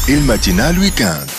ال matinale week-end.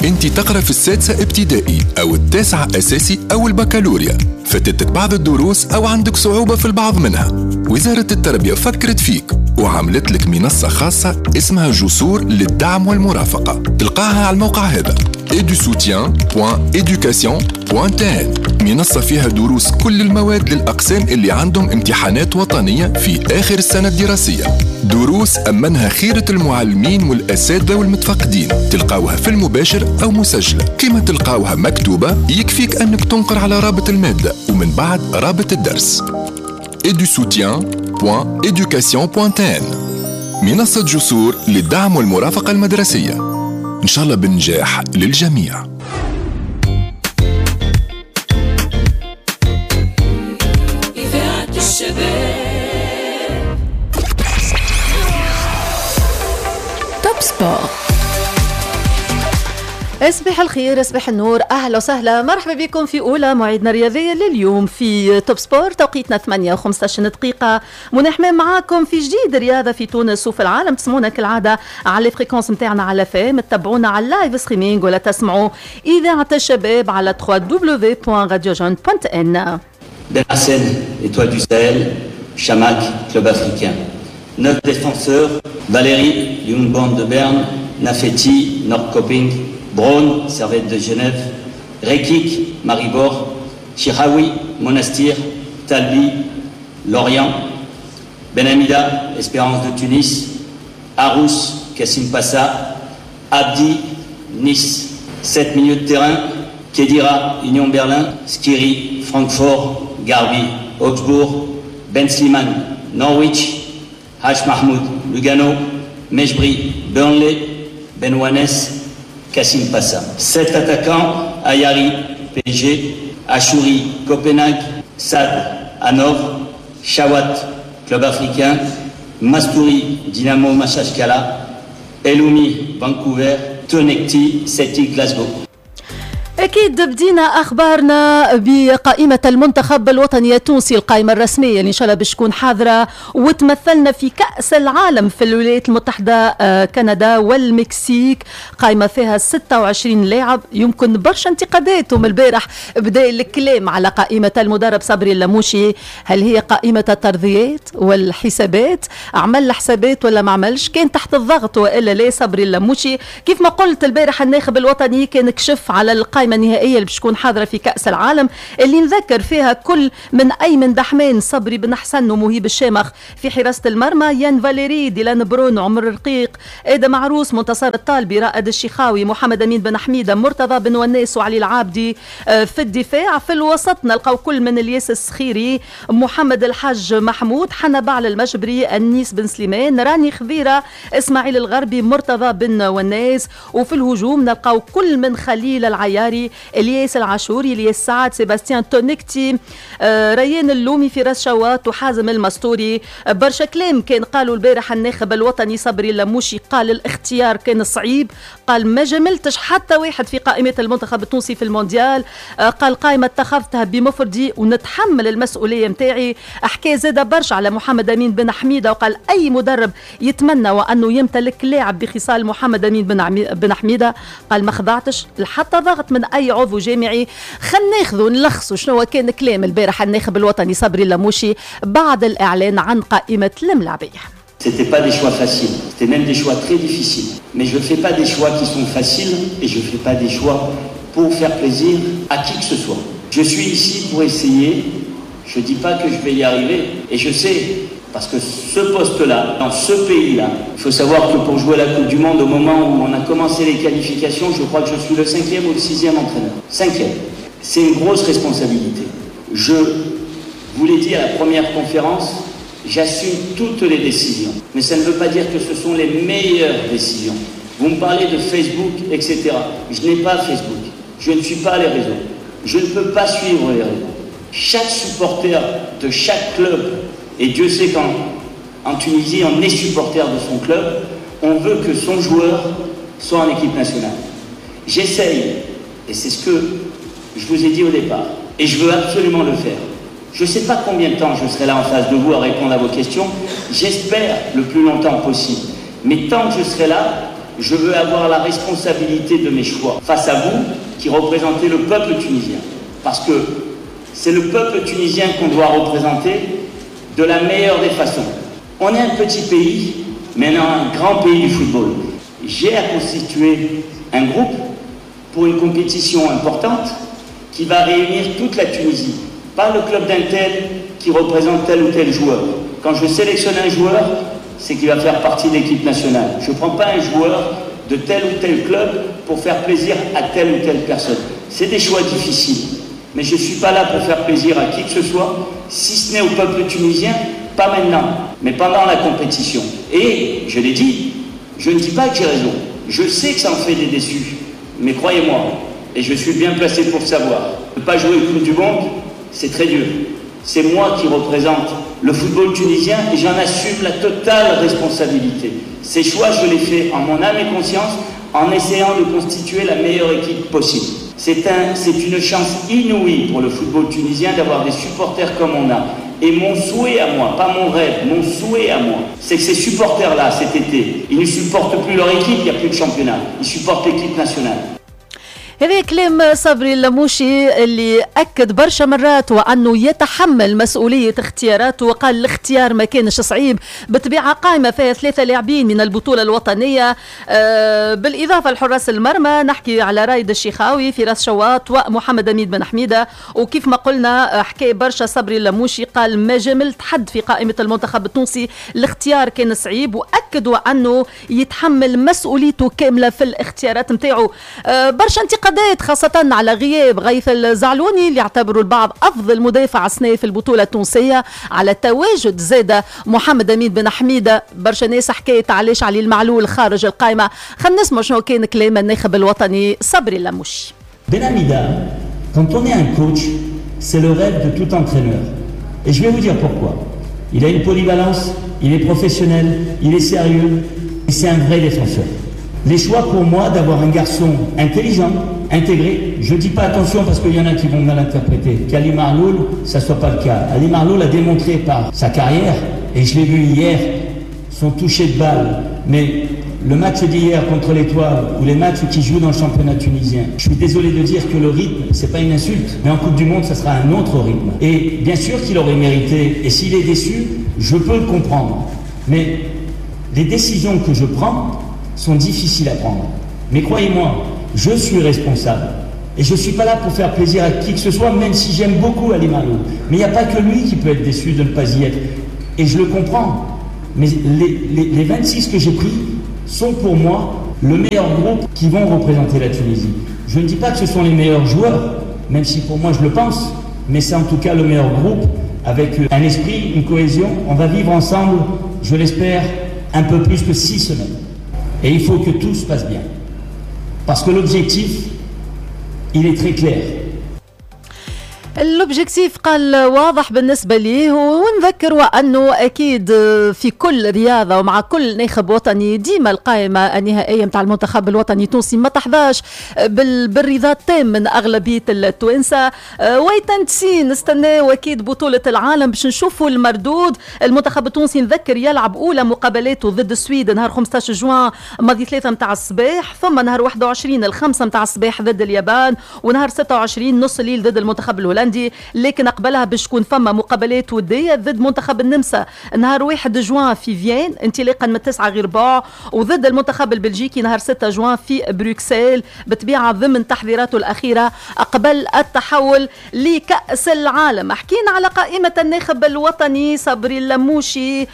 انت تقرا في السادسة ابتدائي او التاسعة اساسي او البكالوريا، فاتتك بعض الدروس او عندك صعوبة في البعض منها. وزارة التربية فكرت فيك وعملت لك منصة خاصة اسمها جسور للدعم والمرافقة، تلقاها على الموقع هذا edusoutien.education.tn. منصة فيها دروس كل المواد للأقسام اللي عندهم امتحانات وطنية في آخر السنة الدراسية، دروس أمنها خيرة المعلمين والأساتذة والمتفقدين، تلقاوها في المباشر أو مسجلة، كما تلقاوها مكتوبة يكفيك أنك تنقر على رابط المادة ومن بعد رابط الدرس. edusoutien.education.tn، منصة جسور للدعم والمرافقة المدرسية. إن شاء الله بالنجاح للجميع. إذاعة الشباب. Top Sport. صباح الخير، صباح النور، اهلا وسهلا، مرحبا بكم في اولى موعدنا الرياضية لليوم في Top Sport. توقيتنا 8:15 دقيقة. منى حمام معاكم في جديد رياضة في تونس وفي العالم. تسمعونا كالعادة على ال fréquences نتاعنا على FM، تتبعونا على ال live streaming ولا تسمعوا اذاعة الشباب على www.radiojeune.n. Ben Hassen, Étoile du Sahel, Chamakh, Club Africain. 9 défenseurs, Valéry, Young Boys de Berne, Nafeti, Norrköping, Braun, Servette de Genève, Rekik, Maribor, Chiraoui, Monastir, Talbi, Lorient, Benhamida, Espérance de Tunis, Arous, Kasimpasa, Abdi, Nice. 7 milieux de terrain, Khedira, Union Berlin, Skhiri, Francfort, Gharbi, Augsbourg, Ben Slimane, Norwich, Hadj Mahmoud, Lugano, Mejbri, Burnley, Ben Ouanes, Kasimpasa. 7 attaquants, Ayari, PSG, Achouri, Copenhague, Saad, Hanovre, Chaouat, Club Africain, Mastouri, Dynamo Makhachkala, Eloumi, Vancouver, Tounekti, Celtic Glasgow. أكيد بدينا أخبارنا بقائمة المنتخب الوطني التونسي، القائمة الرسمية اللي إن شاء الله باش تكون حاضرة وتمثلنا في كأس العالم في الولايات المتحدة، كندا والمكسيك. قائمة فيها 26 لاعب، يمكن برشا انتقادات، ومن البارح بدأ الكلام على قائمة المدرب صبري اللموشي. هل هي قائمة الترضيات والحسابات؟ عمل حسابات ولا ما عملش؟ كان تحت الضغط وإلا لا صبري اللموشي؟ كيف ما قلت البارح الناخب الوطني كان كشف على القائمة النهائية اللي باش تكون حاضرة في كأس العالم، اللي نذكر فيها كل من أيمن دحمان، صبري بن حسن ومهيب الشامخ في حراسة المرمى، يان فاليري، ديلان برون، عمر الرقيق، آدم عروس، منتصر الطالبي، رائد الشيخاوي، محمد أمين بن حميدة، مرتضى بن وناس وعلي العابدي في الدفاع. في الوسط نلقاو كل من الياس السخيري، محمد الحاج محمود، حنبعل المجبري، النيس بن سليمان، راني خضيرة، إسماعيل الغربي، مرتضى بن وناس. وفي الهجوم نلقاو كل من خليل العياري، الياس العاشوري، الياس سعد، سيباستيان تونكتي، ريان اللومي، فراس شواط وحازم المستوري. برشا كلام كان قالوا البارح الناخب الوطني صبري اللموشي، قال الاختيار كان صعيب، قال ما جملتش حتى واحد في قائمة المنتخب التونسي في المونديال، قال قائمة اتخذتها بمفردي ونتحمل المسؤولية متاعي. حكى زاد برشا على محمد أمين بن حميدة وقال أي مدرب يتمنى وأنه يمتلك لاعب بخصال محمد أمين بن حميدة، قال ما خضعتش لحتى ضغط من أي عضو جامعي. خلينا ناخذوا نلخصوا شنو كان كلام البارح الناخب الوطني صبري اللموشي بعد الإعلان عن قائمة الملاعبية. C'était pas des choix faciles, c'était même des choix très difficiles. Mais je fais pas des choix qui sont faciles et je fais pas des choix pour faire plaisir à qui que ce soit. Je suis ici pour essayer, je dis pas que je vais y arriver et je sais, parce que ce poste-là, dans ce pays-là, il faut savoir que pour jouer la Coupe du Monde, au moment où on a commencé les qualifications, je crois que je suis le 5e ou le 6e entraîneur. 5e. C'est une grosse responsabilité. Je vous l'ai dit à la première conférence, j'assume toutes les décisions. Mais ça ne veut pas dire que ce sont les meilleures décisions. Vous me parlez de Facebook, etc. Je n'ai pas Facebook. Je ne suis pas les réseaux. Je ne peux pas suivre les réseaux. Chaque supporter de chaque club, et Dieu sait qu'en Tunisie, on est supporter de son club, on veut que son joueur soit en équipe nationale. J'essaye, et c'est ce que je vous ai dit au départ, et je veux absolument le faire. Je ne sais pas combien de temps je serai là en face de vous à répondre à vos questions, j'espère le plus longtemps possible. Mais tant que je serai là, Je veux avoir la responsabilité de mes choix face à vous qui représentez le peuple tunisien. Parce que c'est le peuple tunisien qu'on doit représenter de la meilleure des façons. On est un petit pays, mais on est un grand pays du football. J'ai à constituer un groupe pour une compétition importante qui va réunir toute la Tunisie, pas le club d'un tel qui représente tel ou tel joueur. Quand je sélectionne un joueur, c'est qu'il va faire partie de l'équipe nationale. Je ne prends pas un joueur de tel ou tel club pour faire plaisir à telle ou telle personne. C'est des choix difficiles, mais je ne suis pas là pour faire plaisir à qui que ce soit, si ce n'est au peuple tunisien, pas maintenant, mais pendant la compétition. Et, je l'ai dit, je ne dis pas que j'ai raison. Je sais que ça en fait des déçus, mais croyez-moi, et je suis bien placé pour le savoir, ne pas jouer une Coupe du Monde, c'est très dur. C'est moi qui représente le football tunisien et j'en assume la totale responsabilité. Ces choix, je les fais en mon âme et conscience, en essayant de constituer la meilleure équipe possible. C'est une chance inouïe pour le football tunisien d'avoir des supporters comme on a. Et mon souhait à moi, pas mon rêve, mon souhait à moi, c'est que ces supporters-là, cet été, ils ne supportent plus leur équipe, il n'y a plus de championnat. Ils supportent l'équipe nationale. هذا كلام صبري اللموشي اللي أكد برشا مرات وأنه يتحمل مسؤولية اختياراته، وقال الاختيار ما كانش صعيب. بالطبيعة قائمة فيها 3 لاعبين من البطولة الوطنية، بالإضافة لحراس المرمى نحكي على رايد الشيخاوي، فراس شواط، ومحمد أمين بن حميدة. وكيف ما قلنا حكى برشا صبري اللموشي، قال ما جملت حد في قائمة المنتخب التونسي، الاختيار كان صعيب، وأكدوا أنه يتحمل مسؤوليته كاملة في الاختيارات نتاعو. برشا انتقادات خاصة على غياب غيث الزعلوني اللي اعتبروا البعض أفضل مدافع السنة في البطولة التونسية، على تواجد زادة محمد أمين بن حميدة. برشا ناس حكاية علاش علي المعلول خارج القائمة. خلينا نسمع شنو كان كلام الناخب الوطني صبري اللموشي. Ben Hamida, quand on est un coach, c'est le rêve de tout entraîneur. Et je vais vous dire pourquoi. Il a une polyvalence, il est professionnel, il est sérieux, et c'est un vrai défenseur. Les choix pour moi d'avoir un garçon intelligent, intégré, je ne dis pas attention parce qu'il y en a qui vont mal interpréter, qu'Ali Maâloul, ça ne soit pas le cas. Ali Maâloul a démontré par sa carrière, et je l'ai vu hier, son toucher de balle, mais le match d'hier contre l'Étoile ou les matchs qu'il joue dans le championnat tunisien, je suis désolé de dire que le rythme, c'est pas une insulte, mais en Coupe du Monde, ça sera un autre rythme. Et bien sûr qu'il aurait mérité, et s'il est déçu, je peux le comprendre. Mais les décisions que je prends sont difficiles à prendre. Mais croyez-moi, je suis responsable. Et je ne suis pas là pour faire plaisir à qui que ce soit, même si j'aime beaucoup Ali Maâloul. Mais il n'y a pas que lui qui peut être déçu de ne pas y être. Et je le comprends. Mais les 26 que j'ai pris sont pour moi le meilleur groupe qui vont représenter la Tunisie. Je ne dis pas que ce sont les meilleurs joueurs, même si pour moi je le pense, mais c'est en tout cas le meilleur groupe avec un esprit, une cohésion. On va vivre ensemble, je l'espère, un peu plus que 6 semaines. Et il faut que tout se passe bien. Parce que l'objectif, il est très clair. L'objectif قال واضح بالنسبة ليه. ونذكر وأنه أكيد في كل رياضة ومع كل ناخب وطني ديما القائمة النهائية متاع المنتخب الوطني التونسي ما تحظاش بالرضا التام من أغلبية التوانسة. wait and see، نستناو أكيد بطولة العالم باش نشوفوا المردود. المنتخب التونسي نذكر يلعب أولى مقابلاته ضد السويد نهار 15 جوان ماضي 3 متاع الصباح، ثم نهار 21 الخمسة متاع الصباح ضد اليابان، ونهار 26 نص الليل ضد المنتخب الهولندي. لكن قبلها باش تكون فما مقابلات ودية ضد منتخب النمسا نهار 1 جوان في فيين انطلاقا من 8:45، وضد المنتخب البلجيكي نهار 6 جوان في بروكسل، بطبيعة ضمن تحضيراته الأخيرة قبل التحول لكأس العالم. حكينا على قائمة الناخب الوطني صبري اللموشي،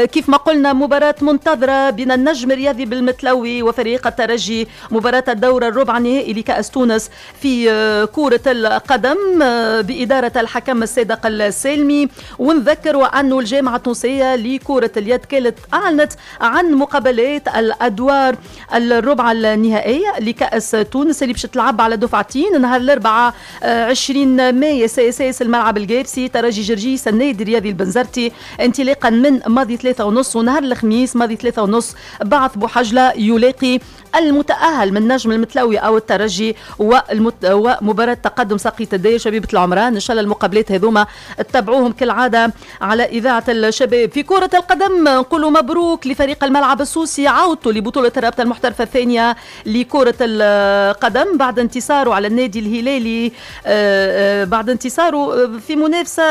كيف ما قلنا مباراة منتظرة بين النجم الرياضي بالمتلوي وفريق الترجي، مباراة الدور الربع النهائي لكأس تونس في كرة القدم بإدارة الحكم الصادق السالمي. ونذكر وأنه الجامعة التونسية لكرة اليد كانت أعلنت عن مقابلات الأدوار الربع النهائية لكأس تونس اللي باش تلعب على دفعتين نهار الأربعاء 20 ماي CSS الملعب الجابسي ترجي جرجيس النادي الرياضي البنزرتي انطلاقا من ماضي 3:30، ونهار الخميس ماضي 3:30 بعث بوحجلة يلاقي المتأهل من نجم المتلوي أو الترجي، ومباراة تقدم ساقية الداير شبيبة العمران. إن شاء الله المقابلات هذوما تتابعوهم كالعادة على إذاعة الشباب. في كرة القدم نقولوا مبروك لفريق الملعب السوسي، عودته لبطولة الرابطة المحترفة الثانية لكرة القدم بعد انتصاره على النادي الهلالي، بعد انتصاره في منافسة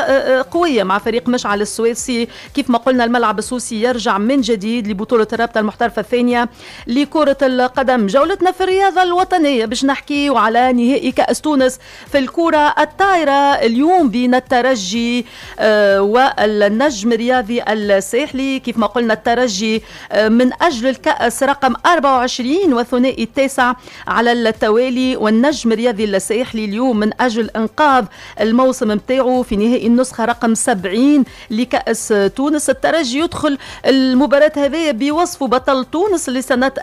قوية مع فريق مشعل السويسي. كيف ما قلنا الملعب السوسي يرجع من جديد لبطولة الرابطة المحترفة الثانية لكرة القدم. جولتنا في الرياضة الوطنية باش نحكيو على نهائي كأس تونس في الكرة الطائرة اليوم بين الترجي والنجم الرياضي الساحلي. كيف ما قلنا الترجي من أجل الكأس رقم 24 والثنائي التاسع على التوالي، والنجم الرياضي الساحلي اليوم من أجل إنقاذ الموسم متاعه في نهائي النسخة رقم 70 لكأس تونس. الترجي يدخل المباراة هذه بوصفه بطل تونس لسنة 2025-2027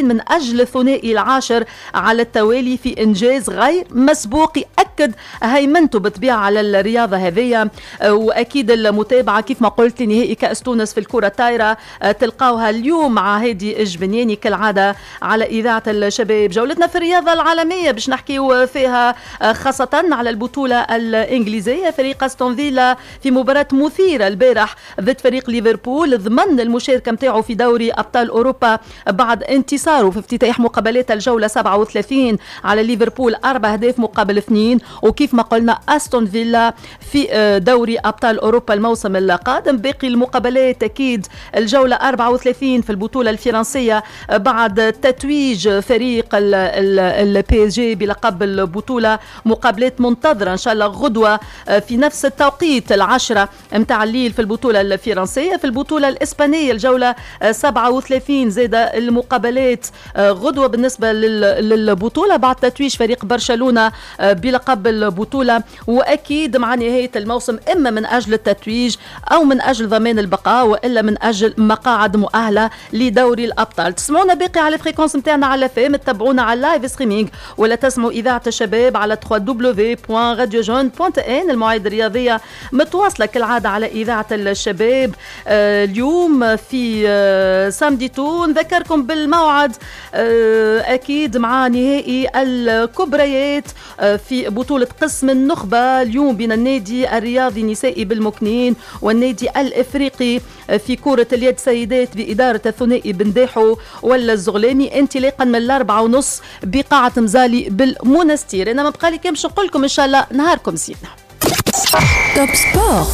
من أجل الثنائي العاشر على التوالي في إنجاز غير مسبوق يأكد هيمنته بالطبيعة على الرياضة هذه. وأكيد المتابعة كيف ما قلت لنهائي كأس تونس في الكرة الطايرة تلقاوها اليوم مع هادي الجبنياني كالعادة على إذاعة الشباب. جولتنا في الرياضة العالمية باش نحكيو فيها خاصة على البطولة الإنجليزية. فريق أستون فيلا في مباراة مثيرة البارح ضد فريق ليفربول ضمن المشاركة متاعه في دوري أبطال أوروبا بعد انتصاره في افتتاح مقابلات الجولة 37 على ليفربول 4 أهداف مقابل 2. وكيف ما قلنا أستون فيلا في دوري أبطال أوروبا الموسم القادم. باقي المقابلات أكيد الجولة 34 في البطولة الفرنسية بعد تتويج فريق ال PSG بلقب البطولة، مقابلات منتظرة إن شاء الله غدوة في نفس التوقيت 10 متاع الليل في البطولة الفرنسية. في البطولة الإسبانية الجولة 37 زاد المقابلات غدوة بالنسبة للبطولة بعد تتويج فريق برشلونة بلقب البطولة. وأكيد مع نهاية الموسم إما من أجل التتويج أو من أجل ضمان البقاء وإلا من أجل مقاعد مؤهلة لدوري الأبطال. تسمعونا باقي على fréquence نتاعنا على FM، تتابعونا على live streaming ولا تسمعوا إذاعة الشباب على www.radiojeune.n. المواعيد الرياضية متواصلة كالعادة على إذاعة الشباب. اليوم في samedi tout نذكركم بالموعد أكيد مع نهائي الكبريات في بطولة قسم النخبة اليوم بين النادي الرياضي النسائي بالمكنين والنادي الإفريقي في كرة اليد سيدات بإدارة الثنائي بنداحو والزغلامي انطلاقا من 4:30 بقاعة مزالي بالمونستير. أنا ما بقى لي كان باش نقول لكم إن شاء الله نهاركم زين. Top Sport.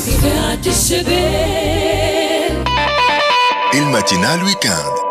إذاعة الشباب ال matinale week-end.